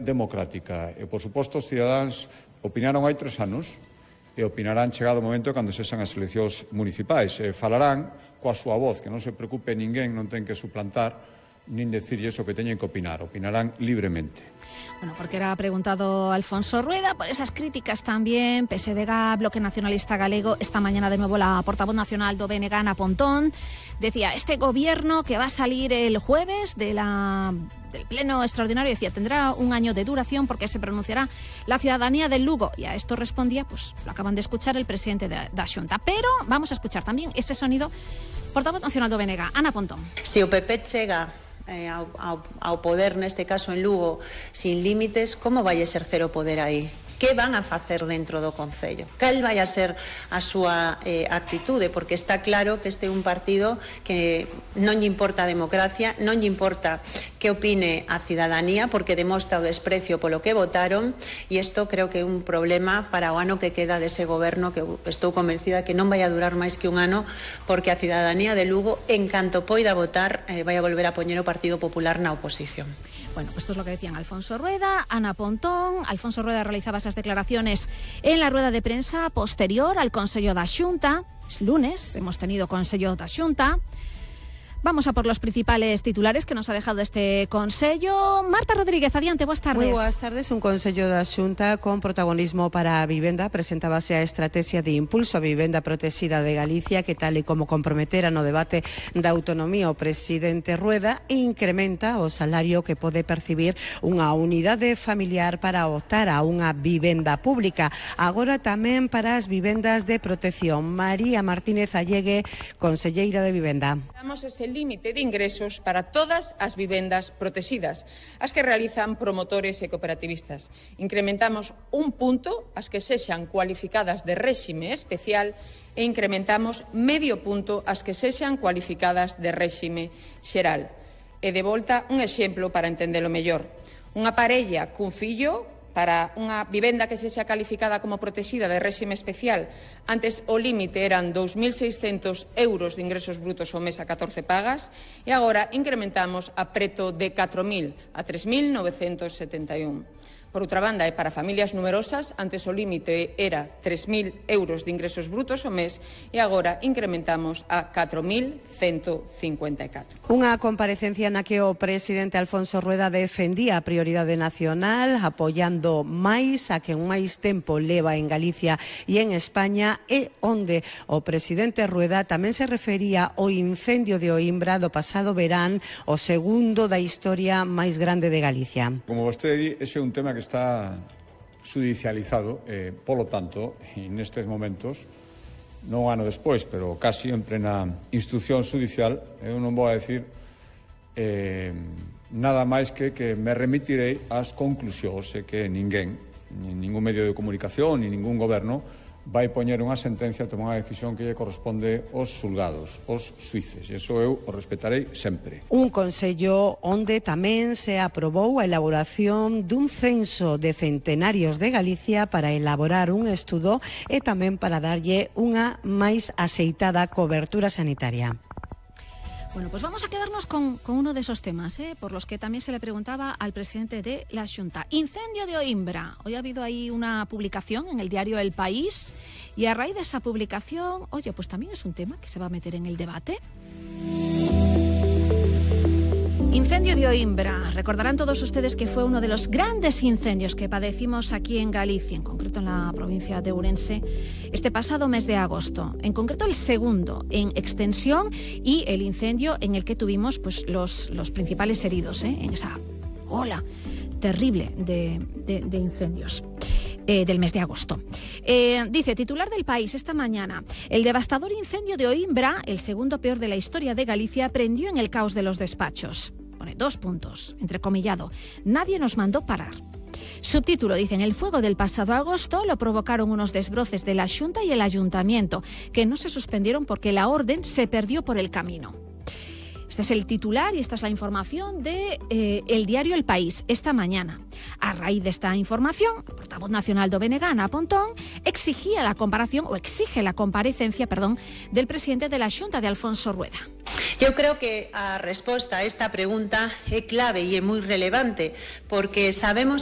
democrática. E, por suposto, os cidadáns opinaron hai 3 anos e opinarán chegado o momento cando sexan as eleccións municipais. Falarán coa súa voz, que non se preocupe ninguén, non ten que suplantar nin decirlle eso que teñen que opinar. Opinarán libremente. Bueno, porque era preguntado Alfonso Rueda por esas críticas también. PSDG, Bloque Nacionalista Galego, esta mañana de nuevo la portavoz nacional do BNG, Ana Pontón, decía, este gobierno que va a salir el jueves del pleno extraordinario, decía, tendrá un año de duración porque se pronunciará la ciudadanía del Lugo. Y a esto respondía, pues lo acaban de escuchar el presidente da Xunta. Pero vamos a escuchar también ese sonido. Portavoz nacional do BNG, Ana Pontón. Se o PP chega ao poder, neste caso en Lugo, sin límites, como vai exercer o poder aí? Que van a facer dentro do Concello? Cal vai a ser a súa actitude? Porque está claro que este é un partido que non lle importa a democracia, non lle importa que opine a cidadanía, porque demostra o desprecio polo que votaron, e isto creo que é un problema para o ano que queda dese goberno, que estou convencida que non vai a durar máis que un ano, porque a cidadanía de Lugo, en canto poida votar, vai a volver a poñer o Partido Popular na oposición. Bueno, pues esto es lo que decían Alfonso Rueda, Ana Pontón. Alfonso Rueda realizaba esas declaraciones en la rueda de prensa posterior al Consello da Xunta. Es lunes, hemos tenido Consello da Xunta. Vamos a por los principales titulares que nos ha dejado este Consello. Marta Rodríguez, adiante, boas tardes. Moi boas tardes. Un Consello da Xunta con protagonismo para a vivenda. Presentábase a estrategia de impulso a vivenda protexida de Galicia, que tal e como comprometera no debate da autonomía o presidente Rueda, incrementa o salario que pode percibir unha unidade familiar para optar a unha vivenda pública. Agora tamén para as vivendas de protección. María Martínez Allegue, conselleira de Vivenda. Damos ese límite de ingresos para todas as vivendas protegidas, as que realizan promotores e cooperativistas. Incrementamos un punto as que sexan cualificadas de réxime especial e incrementamos medio punto as que sexan cualificadas de réxime xeral. E de volta un exemplo para entendelo mellor. Unha parella cun fillo, para unha vivenda que sexa calificada como protexida de réxime especial, antes o límite eran 2.600 euros de ingresos brutos ao mes a 14 pagas e agora incrementamos a preto de 4.000 a 3.971. Por outra banda, e para familias numerosas, antes o límite era 3.000 euros de ingresos brutos ao mes e agora incrementamos a 4.154. Unha comparecencia na que o presidente Alfonso Rueda defendía a prioridade nacional, apoiando máis a que máis tempo leva en Galicia e en España, e onde o presidente Rueda tamén se refería ao incendio de Oimbra do pasado verán, o segundo da historia máis grande de Galicia. Como vostede di, ese é un tema que está judicializado, polo tanto, nestes momentos, non un ano despois, pero casi en plena instrucción judicial, eu non vou a decir nada máis que me remitirei ás conclusións e que ninguén, nin ningún medio de comunicación, nin ningún goberno, vai poñer unha sentencia, tomar unha decisión que lle corresponde aos xulgados, aos xuíces. E iso eu o respetarei sempre. Un consello onde tamén se aprobou a elaboración dun censo de centenarios de Galicia para elaborar un estudo e tamén para darlle unha máis aceitada cobertura sanitaria. Bueno, pues vamos a quedarnos con uno de esos temas, por los que también se le preguntaba al presidente de la Xunta. Incendio de Oimbra. Hoy ha habido ahí una publicación en el diario El País y a raíz de esa publicación, oye, pues también es un tema que se va a meter en el debate. Incendio de Oimbra. Recordarán todos ustedes que fue uno de los grandes incendios que padecimos aquí en Galicia, en concreto en la provincia de Ourense, este pasado mes de agosto. En concreto el segundo en extensión y el incendio en el que tuvimos pues los principales heridos, en esa ola terrible de incendios. Del mes de agosto. Dice, titular del País esta mañana, el devastador incendio de Oimbra, el segundo peor de la historia de Galicia, prendió en el caos de los despachos. Pone 2 puntos, entrecomillado. Nadie nos mandó parar. Subtítulo, dicen, el fuego del pasado agosto lo provocaron unos desbroces de la Xunta y el Ayuntamiento, que no se suspendieron porque la orden se perdió por el camino. Este es el titular y esta es la información de el diario El País esta mañana. A raíz de esta información, el portavoz nacional do BNG, Ana Pontón, exige la comparecencia del presidente de la Xunta, de Alfonso Rueda. Eu creo que a resposta a esta pregunta é clave e é moi relevante, porque sabemos